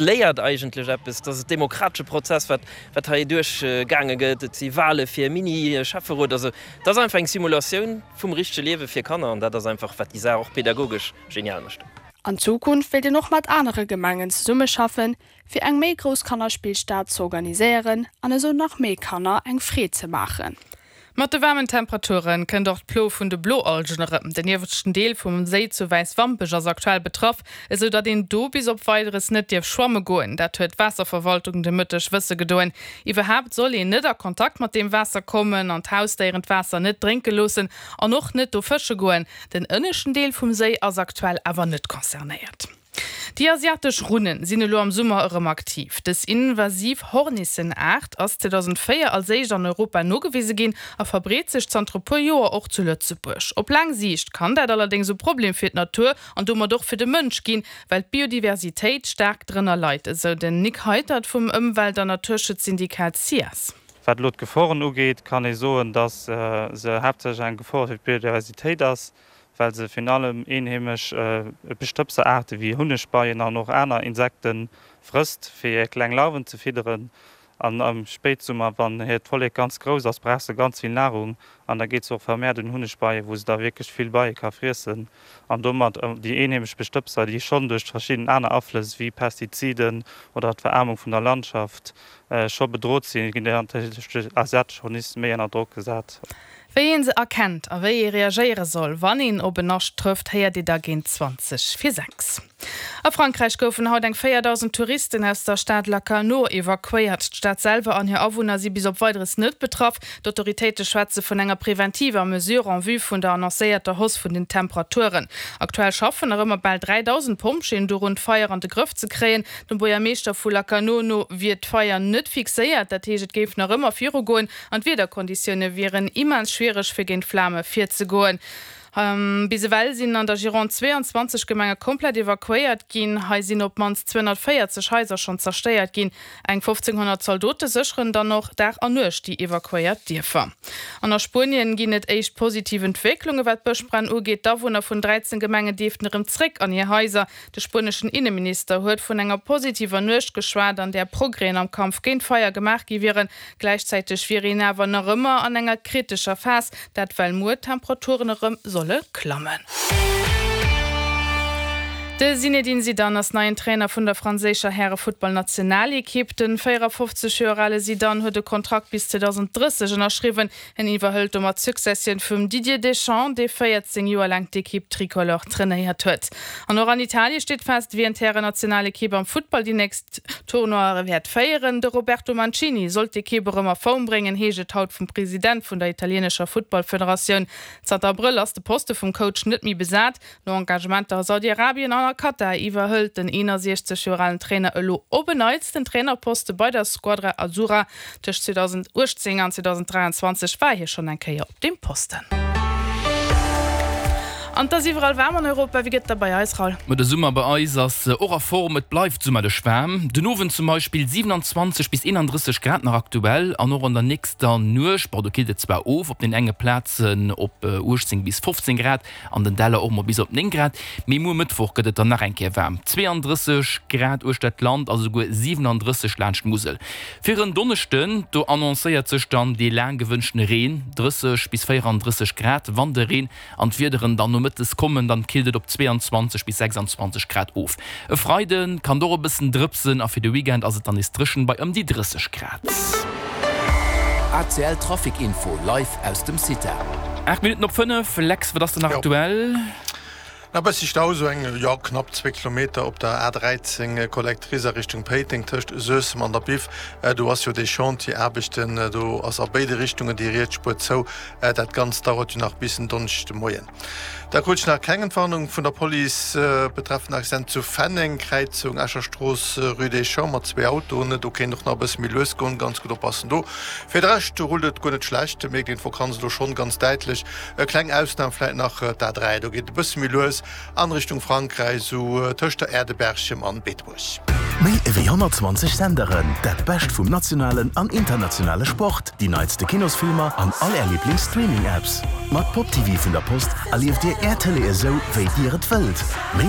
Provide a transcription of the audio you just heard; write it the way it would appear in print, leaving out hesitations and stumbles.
Léiert eigentlech eppes, et ass e demokratesche Prozess, wat wat hei duerch gaange gëtt. Et si Wahle fir e Mini-Schäfferot. Also et ass einfach eng Simulatioun vum richtege Liewe fir Kanner an dat ass einfach, wat déi Saach och pedagogesch genial mécht. An Zukunft wéilt een och mat anere Gemengen zesummeschaffen, fir eng méi grouss Kannerspillstad z'organiséieren an esou nach méi Kanner eng Freed ze maachen. Mat de waarmen Temperature kënnt och d'Plo vun de Bloalgen erëm. Den ieweschten Deel vum Séi zu Wäiswampech ass aktuell betraff, esou datt een do bis op Weideres net dierf schwamme goen. Dat huet d'Waasserverwaltung de Mëtteg wësse gedoen. Iwwerhaapt soll een net a Kontakt mat deem Waasser kommen an d'Hausdéieren d'Waasser net drénke loossen an och net do fësche goen. Den ënneschten Deel vum Séi ass aktuell awer net concernéiert. Déi asiatesch Runnen sinn elo am Summer erëm aktiv. Dës invasiv Hornissenaart ass 2004 als éischt an Europa nogewise ginn a verbreet sech zanter e puer Joer och zu Lëtzebuerg. Op laang Siicht kann dat allerdéngs e Problem fir d'Natur an domat och fir de Mënsch ginn, well d'Biodiversitéit staark drënner leit, esou den Nick Heitert vum Ëmwelt an Naturschutzsyndikat SIAS. Wat elo d'Geforen ugeet, kann ee soen, datt se haaptsächlech eng Gefor fir d'Biodiversitéit ass, well se virun allem eenheemesch Bestëbseraarte wéi Hunnegbeien an och aner Insekte frësst, fir hir kleng Larven ze fidderen. An am Spéitsummer, wann hiert Vollek ganz grouss ass, brauch se ganz vill Nahrung an da geet se och vermehrt un Hunnegbeien, wou se da wierklech vill Beie ka friessen an domat déi eenheemesch Bestëbser, déi schonn duerch verschidden aner Aflëss wéi Pestiziden oder d'Veraarmung vun der Landschaft scho bedrot sinn, ginn duerch déi asiatesch Horniss méi ënner Drock gesat. Wéi een se erkennt a wéi ee reagéiere soll, wann een op en Nascht trëfft, héiert Dir da géint 20 vir 6. A Frankräich goufen haut eng 4.000 Touristen aus der Stad Lacanau evakuéiert. D'Stad selwer an hir Awunner si bis op Weideres net betraff. D'Autoritéite schwätze vun enger preventiver Mesure en vue vun der annoncéierter Hausse vun den Temperaturen. Aktuell schaffen nach ëmmer bal 3.000 Pompjeeën dorun, d'Feier an de Grëff ze kréien. Dem Buergermeeschter vu Lacanau no wier d'Feier net fixéiert, dat heescht et géif nach ëmmer virugoen. An d'Wiederkonditioune wieren immens schwiereg fir géint d'Flame virzegoen. Bis ewell sinn an der Gironde 22 Gemenge komplett evakuéiert ginn. Hei sinn op d'mannst 240 Haiser schonn zerstéiert ginn. Eng 1.500 Zaldote sécheren dann och Dag an Nuecht déi evakuéiert Dierfer. An a Spuenien ginn et éischt positiv Entwécklunge wat d'Bëschbränn ugeet. D'Awunner vun 13 Gemengen dierften erëm zréck an hir Haiser. De spueneschen Inneminister huet vun enger positiver Nuecht geschwat, an där Progrèsen am Kampf géint d'Feier gemaach gi wieren. Gläichzäiteg wier een awer nach ëmmer an enger kritescher Phas, dat well muer d'Temperaturen erëm solle klammen. De Zinedine Zidane ass neien Trainer vun der franséischer Härefuttballnationalekipp. De 54 Joer ale Zidane huet e Kontrakt bis 2030 ënnerschriwwen. En iwwerhëlt domat d'Successioun vum Didier Deschamps, dee 14 Joer laang d'Ekipp Tricolore trainéiert huet. An och an Italie steet fest, wien d'Härennationalekipp am Futtball déi nächst Tournoie wäert féieren. De Roberto Mancini soll d'Ekipp erëm a Form bréngen, heescht et haut vum President vun der italieenescher Futtballfederatioun. Zanter Abrëll ass de Poste vum Coach net méi besat. No Engagementer a Saudi-Arabien an a Katar iwwerhëlt den 61 Joer alen Trainer elo op en Neits den Trainerposte bei der Squadra Azzurra. Tëscht 2018 an 2023 war hie schonn eng Kéier op deem Posten. An 't ass iwwerall waarm an Europa. Wéi gëtt et da bei eis, Raoul? Ma de Summer bei eis ass och a Form, et bleift summerlech waarm. Den Owend zum Beispill 27 bis 31 Grad nach aktuell an och an der nächster Nuecht, bon do killt et zwar of op den enge Plazen op 18 bis 15 Grad, An den Däller och mol bis op 9 Grad. Mee muer Mëttwoch gëtt et dann nach eng Kéier waarm, 32 Grad uechter d'Land a souguer 37 laanscht d'Musel. Fir en Donneschden, do annoncéiert sech dann dee laang gewënschtene Reen, 30 bis 34 Grad. Wann de Reen an d'Wiederen dann nomëttes kommen, dann killt et op 22 bis 26 Grad of. E Freide kann et och e bëssen drëpsen a fir de Weekend ass et dann nees dréchen bei ëm déi 30 Grad. ACL Trafic Info live aus dem CITA. 8 Minutten op 5, Lex, wat ass denn nach aktuell? Nach bëssi Stau, sou eng, jo, knapp zwee Kilometer op der A 13 Collectrice a Richtung Péiteng tëscht Suessem an der Biff. Do ass jo dee Chantier, Aarbechten, do ass a béide Richtungen déi riets Spuer zou. Dat Ganzt dauert jo nach bis en Donneschdeg de Moien. Da krut ech nach keng Entwarnung vun der Police betreffend Accident zu Fenneng, Kräizung Escher Strooss, Rue des Champs mat zwee Autoen. Do kéint och nach e bësse méi lues goen, ganz gutt oppassen do. Fir de Rescht rullt et guer net schlecht, mierkt een d'Vakanz elo schonn ganz däitlech. E kleng Ausnam vläit nach d'A3, do geet et e bësse méi lues an Richtung Frankräich, esou tëscht der Aire de Berchem an Beetebuerg. Méi ewéi 120 Senderen, dat Bescht vum nationalen an internationale Sport, déi neitste Kinosfilmer an all Är Liiblings-Streaming-Apps. Mat Pop TV vun der Post erlieft Dir Är Tëlee esou, wéi Dir et wëllt. Méi.